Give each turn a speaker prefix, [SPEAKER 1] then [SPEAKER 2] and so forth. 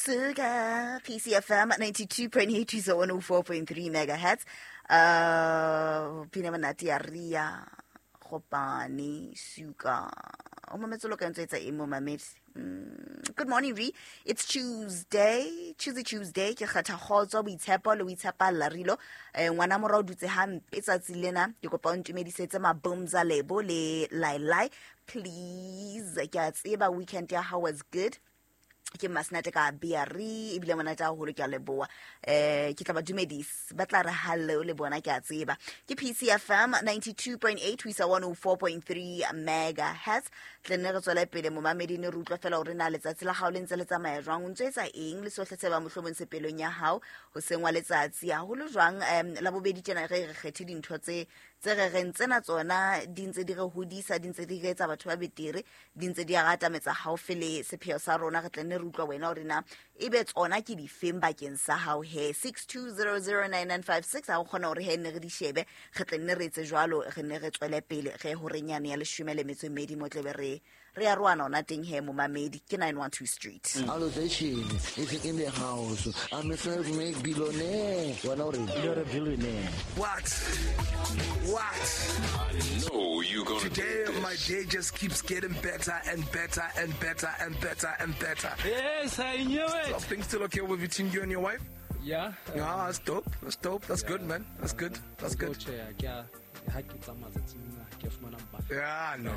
[SPEAKER 1] Sugar PCFM 92.8 to 104.3 megahertz. Pina monate ya ria gopane suka o mametse lo ka ntse etsa eng mo mamedi. Good morning, re it's Tuesday, Tuesday, Tuesday. Ke kgetha kgotso, boitshepo le boitshepalla rilo. Ngwana mora o dutse hampe tsatsi lena. Ke kopa o ntumedisetse mabomza lebo le lailai, please. Ke a tseba weekend ya hao was good. Ke masenate ka bre ebile monate haholo, ke a leboa. Ke tla ba dumedisa, ba tla re hallo le bona, ke a tseba. Ke PCFM 92.8 ho isa 104.3 megahertz. Tle nne re tswele pele, momamedi, ne re utlwa fela hore na letsatsi la hao le ntse le tsamaya jwang, o ntse etsa eng le sohle se ba mohlomong se pelong ya hao hoseng wa letsatsi, haholo jwang la bobedi tjena. Re kgethe dintho tse re reng tsena tsona di ntse di re hodisa, di ntse di re etsa batho ba betere, di ntse di atametsa haufi le sepheo sa rona. Re tla nne re utlwa wena hore na ebe tsona ke difeng bakeng sa hao. He, 62009956, ha o kgona hore he nne re di shebe, re tla nne re etse jwalo, re nne re tswele pele re horeng yane ya 12 mo tlebe re ya roana ona teng. He momamedi, ke 912 Street.
[SPEAKER 2] Allocation is in the house. I'm a self-made billionaire. Wena o reng?
[SPEAKER 3] You're a billionaire.
[SPEAKER 4] What? What?
[SPEAKER 5] Know you gonna
[SPEAKER 4] Today
[SPEAKER 5] do
[SPEAKER 4] my
[SPEAKER 5] this.
[SPEAKER 4] Day just keeps getting better and better and better and better and better.
[SPEAKER 6] Yes, I knew it.
[SPEAKER 4] Are things still okay with between you and your wife?
[SPEAKER 6] Yeah.
[SPEAKER 4] Yeah, that's dope. That's dope. That's good, man. That's good. That's good.
[SPEAKER 6] Tjhe, ke a ha ke tsamaya tsatsing lena, ke fumana
[SPEAKER 4] Yeah, no.